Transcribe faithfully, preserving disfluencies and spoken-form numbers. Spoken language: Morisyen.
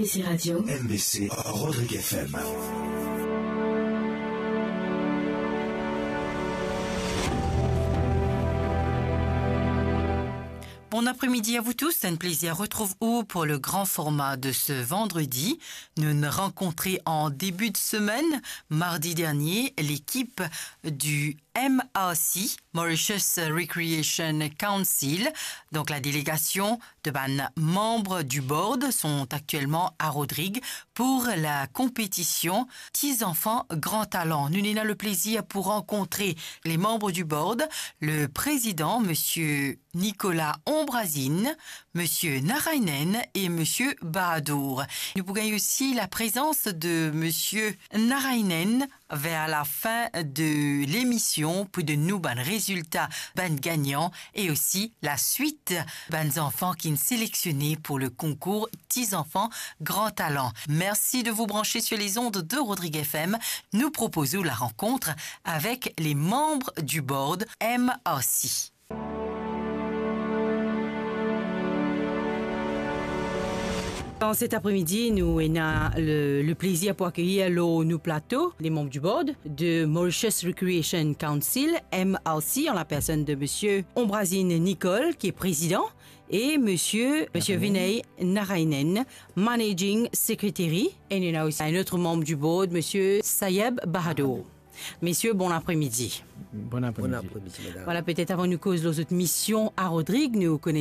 C'est Radio M B C Rodrigues F M. Bon après-midi à vous tous, un plaisir à retrouver vous pour le grand format de ce vendredi. Nous nous rencontrons en début de semaine. Mardi dernier, l'équipe du M R C, Mauritius Recreation Council, donc la délégation de bann membres du board sont actuellement à Rodrigues pour la compétition Ti Zanfan Gran Talan. Nou ena le plaisir pour rencontrer les membres du board, le président, monsieur Nicolas Ombrazine, monsieur Narainen et monsieur Bahadour. Nou pou gagn aussi la présence de monsieur Narainen vers la fin de l'émission pour donn nou bann résultat, bann gagnant et aussi la suite, bann zanfan ki sélectionné pour le concours Ti Zanfan Gran Talan. Merci de vous brancher sur les ondes de Rodrigues F M. Nous proposons la rencontre avec les membres du board M R C. Dans cet après-midi, nous avons le, le plaisir pour accueillir lor nou plato les membres du board de Mauritius Recreation Council, M R C, en la personne de monsieur Ombrazine Nicole, qui est président, et monsieur, monsieur Vinay Narainen, managing secretary. Et nous avons aussi un autre membre du board, monsieur Sayeb Bahadour. Messieurs, bon après-midi. Bon après-midi. Bon après-midi, madame. Voilà, peut-être avant nou koz lor zot mission à Rodrigues, nou kone